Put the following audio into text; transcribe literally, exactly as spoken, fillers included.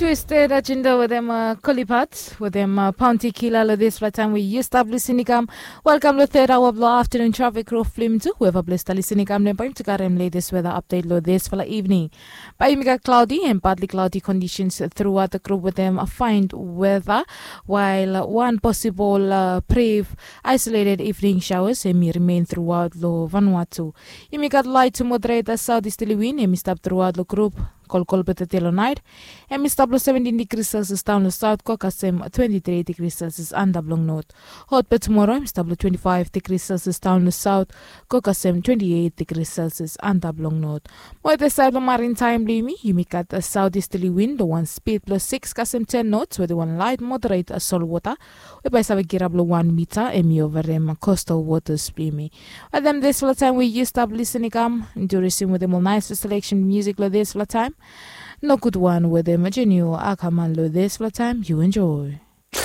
Twisted Agenda wetem uh, Kolipat wetem uh, Bounty Killer lo dispela taim we yu stap lisin i kam. Welkam lo third hour blo afternoon traffic rof flim tu. Weva ples ta lisin i kam nem bai yumi tu karem latest weather update lo dispela evening. Bai yumi gat cloudy and partly cloudy conditions throughout the group wetem a fine weather, while one possible uh, brief isolated evening showers em i remain throughout lo Vanuatu. Yumi gat light to moderate a southeasterly wind em i stap throughout lo group. Kolkol beta de lo night em i stap lo seventeen degrees Celsius down lo south go kasem twenty-three degrees Celsius antap long north. Hot beta tomorrow em i stap lo twenty-five degrees Celsius down lo south go kasem twenty-eight degrees Celsius antap long north. Mo ete side lo marine time blo yumi yumi gat a southeasterly wind lo wan speed blo six kasem ten knots with wan light moderate a sol water we bai save kirap lo wan mita em i overem coastal waters blo yumi. Wetem dispela taim we yu stap lisin i kam, yu risim wetem ol nice selection music lo dispela taim. Nogud wan wetem Jenio Akaman lo dispela taim, yu enjoy.